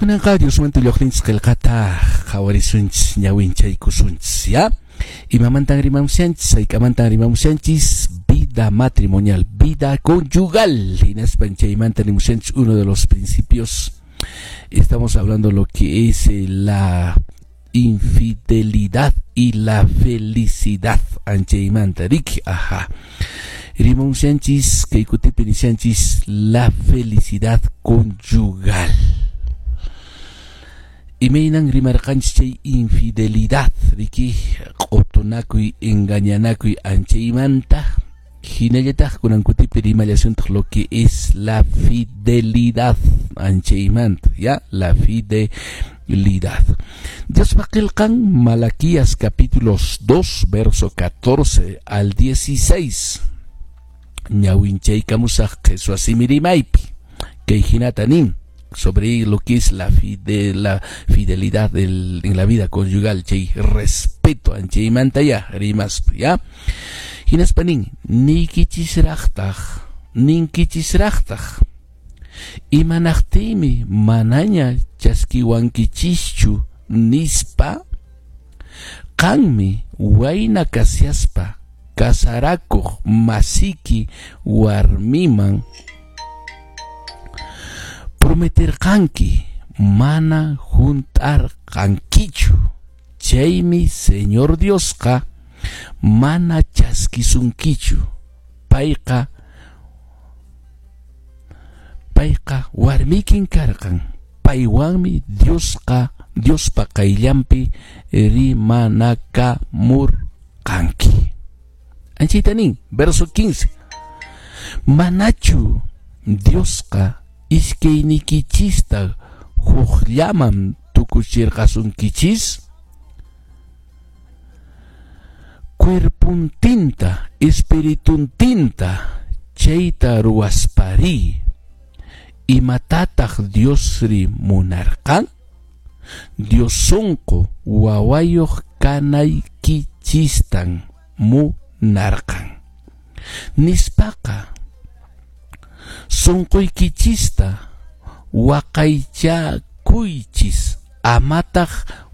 Kunanqa Diosmanta lluqninchis qillqata qhawarisunchis, ñawinchaykusunchis, ya? Imamantan rimamushanchis, hayk'amantan rimamushanchis? Vida matrimonial, vida conyugal. Hinaspan chaymanta rimushanchis uno de los principios. Estamos hablando lo que es la infidelidad y la felicidad. Anchaymanta, riki, ajá. Rimamushanchis, kay kutipi nishanchis, la felicidad conyugal. Imaynan rimarqanchis chay infidelidad, riki, q'utunakuy, engañanakuy anchaymanta. Hinallataq kunan kutipi rimallasuntaq lo que es la fidelidad anchaymanta, ya, la fidelidad. Diospa qillqan Malaquías capítulos 2, verso 14 al 16. Ñawinchaykamusaq qheswa simi rimaypi. Kay hinata nin sobre lo que es la fidelidad en la vida conyugal, chay respeto anchaymanta ya, rimaspa, ya. Hinaspa nin, niykichisraqtaq, ninkichisraqtaq, imanaqtiymi manaña chaskiwankichischu nispa, qanmi wayna kashaspa kasarakuq masiki warmiman prometerqanki, mana hunt'arqankichu. Chaymi Señor Diosqa mana chaskisunkichu. Payqa warmikin karqan. Paywanmi Diosqa Diospa qayllanpi rimanakamurqanki. Anchayta nin, verso 15. Manachu Diosqa iskaynikichista hukllaman tukuchirqasunkichis? Cuerpuntinta, espirituntinta chayta ruwaspari, imatataq Diosri munarqan? Dios sunqu wawayuq kanaykichistan munarqan. Nispaqa sunquykichista waqaychakuychis, amataq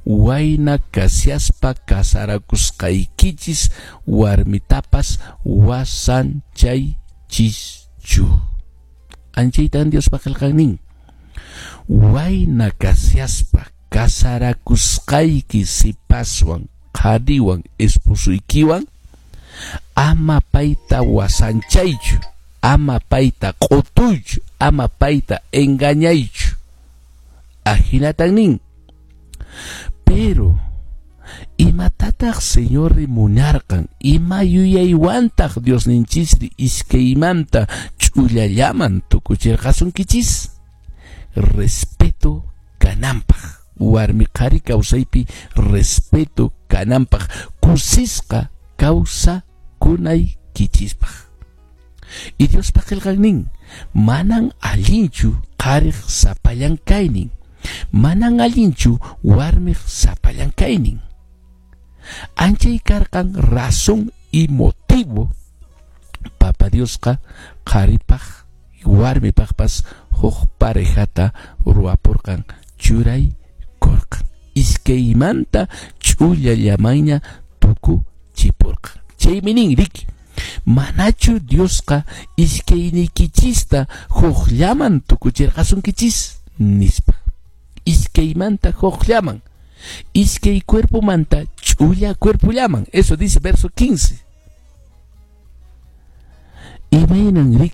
wayna kashaspa kasarakusqaykichis warmitapas wasanchaychischu. Anchaytan Diospa qillqan nin. Wayna kashaspa kasarakusqayki sipaswan, qhariwan, esposuykiwan, ama payta wasanchaychu, ama payta q'utuychu, ama payta engañaychu. Ahinatan nin. Pero imatataq Señorri munarqan? Ima yuyaywantaq Diosninchisri iskaymanta ch'ullallaman tukuchirqasunkichis? Respeto kananpaq. Warmi qhari kawsaypi respeto kananpaq, kusisqa kawsakunaykichispaq. Y Diospa qillqan nin, manan allinchu qhariq sapallan kaynin, manan allinchu warmiq sapallan kaynin. Anchay karqan razón y motivo Papa Diosqa qharipaq warmipaqpas huk parejata ruwapurqan, churaykurqan. Iskaymanta ch'ullallamanña tukuchipurqan. Chaymi nin, riki, manachu Diosqa iskayniykichista hukllaman tukuchirqasunkichis? Nispa. Iskaymanta hukllaman. Iskay cuerpomanta ch'ulla cuerpollaman. Eso dice verso 15. Imaynan riki